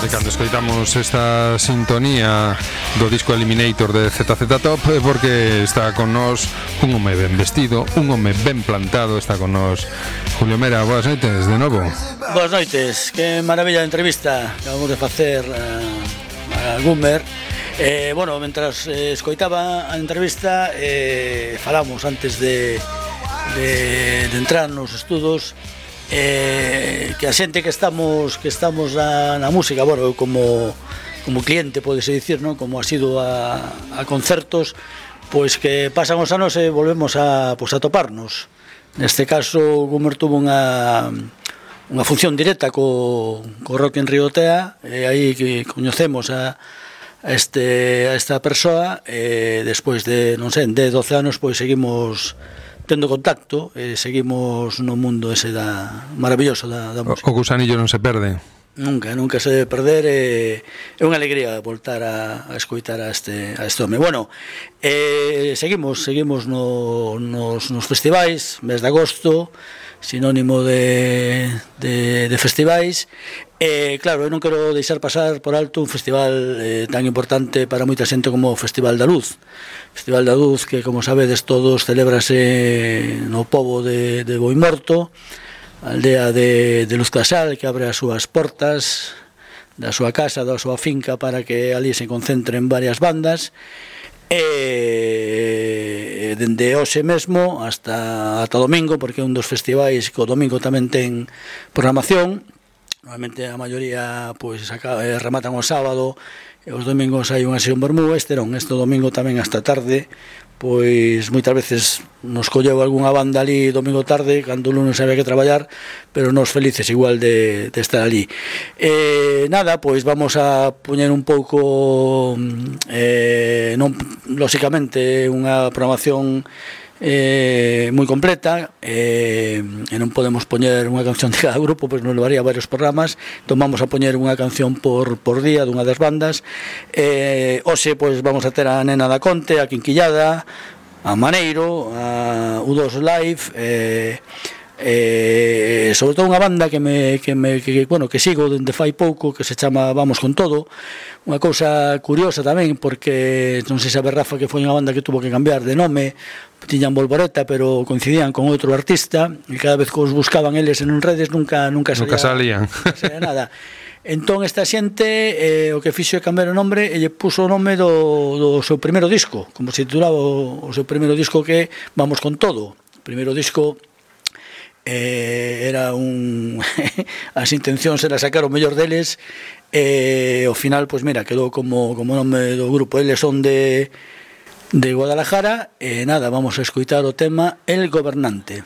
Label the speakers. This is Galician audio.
Speaker 1: E cando escoitamos esta sintonía do disco Eliminator de ZZ Top é porque está con nós un home ben vestido, un home ben plantado. Está con nós Julio Mera. Boas noites de novo.
Speaker 2: Boas noites, que maravilla de entrevista que acabamos de facer a Gumer. Bueno, mentras escoitaba a entrevista, falamos antes de entrar nos estudos, que a xente que estamos na música, bueno, como cliente, podese dicir, non? Como ha sido a concertos, pois que pasan os anos e volvemos a toparnos. Neste caso, Gumer tuvo unha función directa co Rock in Rio Tea, e aí que coñecemos a esta persoa, e despois de, non sei, de 12 anos, pois seguimos tendo contacto, seguimos no mundo ese maravilloso da música.
Speaker 1: O gusanillo non se perde.
Speaker 2: Nunca se debe perder, é unha alegría voltar a escoitar a este home. Bueno, seguimos nos festivais, mes de agosto, sinónimo de festivais. Claro, eu non quero deixar pasar por alto un festival tan importante para moita xente como o Festival da Luz. Festival da Luz que, como sabedes todos, celébrase no pobo de Boimorto, a aldea de Luz Casal, que abre as súas portas da súa casa, da súa finca, para que ali se concentren varias bandas. Dende hoxe mesmo hasta domingo, porque é un dos festivais que o domingo tamén ten programación. Normalmente a maioría pois rematan o sábado, e os domingos hai unha sesión vermú. Este domingo tamén hasta tarde, pois moitas veces nos colleu algunha banda ali domingo tarde, cando o lunes había que traballar, pero nos felices igual de estar ali. Nada, pois vamos a poñer un pouco, non lóxicamente unha programación moi completa, e non podemos poñer unha canción de cada grupo, pois nos levaría varios programas. Entón vamos a poñer unha canción por día dunha das bandas. Hoxe pois vamos a ter a Nena da Conte, a Quinquillada, a Maneiro, a U2 Live, sobre todo unha banda que sigo dende fai pouco, que se chama Vamos con Todo. Unha cousa curiosa tamén, porque non sei se sabe, Rafa, que foi unha banda que tuvo que cambiar de nome. Tiñan Volvoreta, pero coincidían con outro artista, e cada vez que os buscaban eles en redes nunca
Speaker 1: salían
Speaker 2: nada. Entón esta xente o que fixo é cambiar o nombre, e lle puso o nome do seu primeiro disco, como se titulaba o seu primeiro disco, que é Vamos con Todo. O primeiro disco era as intencións era sacar o mellor deles, e ao final, pois mira, quedou como nome do grupo. Eles son de Guadalajara, e nada, vamos a escoitar o tema El Gobernante.